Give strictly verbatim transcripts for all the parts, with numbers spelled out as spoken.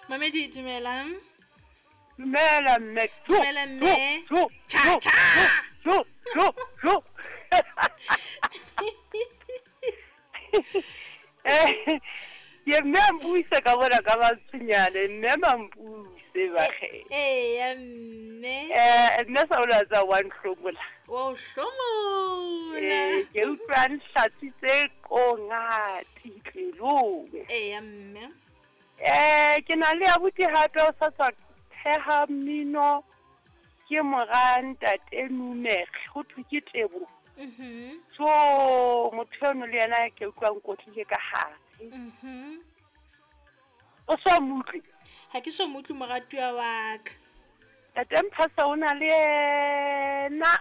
Mamedi, dumelang. Dumela mme. Dumela mme. Cha cha. Jo jo jo. Eh, ke mme a mpuise ka bona ka matshwenyane, mme mampuse bakge. Eya mme. Eh, nna sa ola tsa wa nhlomola. Wa o hlomola. Eh, ke utlwa nhlatsitse kongati pelong. Eya mme. Eh, ke na le abuti hape o sa tswa theha mmino, ke mora ntate Numere, ho thwe ke Tebo. Mhm. So motho eno le yena ke utlwa nkotlile ka hare. Mhm. O so mo utlwe? Ha ke so mo utlwe moratuwa wa ka. Ntate Mphasa o na le yena.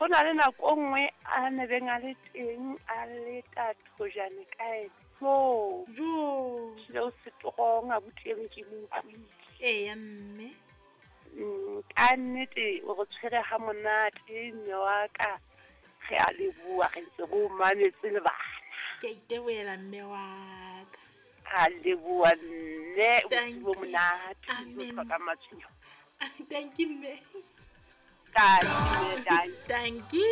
Ho na le nako e nngwe a ne beng a le teng a leta thojane ka ena. So Jo. Ehlile o strong abuti eno ke mo utlwile. Eya mme. Mm, ka nnete o re tshwere ha monate mme wa ka. Re a leboha, re ntse re o mametse le bana. Ke a itebohela mme wa ka. A leboha mme, o Thank bo you. monate, o Amen. tlhoka matshwenyeho. Thank you mme. Thank you, thank you.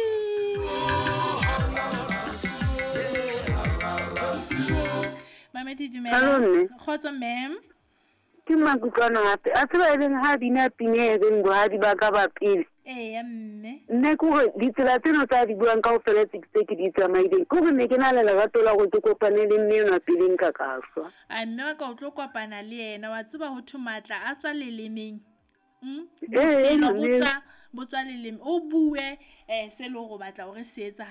Thank you. Mamedi, dumela. Hello, mme. Kgotso ma'am. Ke makutlwana hape. A tseba e leng ha bina pina e reng bohadi ba ka ba pele. Eya mme. Nne ke hore ditsela tseno tsa di buang kaofela tse tse ke di tsamaileng, ke hore ne ke na le lerato la hore ke kopane le mme enwa pele nka ka shwa. A mme wa ka o tlo kopana le yena, wa tseba ho thwe matla a tswa lelemeng. Mm? Ee, Bophelo bo mme. tswa, bo tswa leleme. O bue, eh, se leng hore o batla hore se etsahale.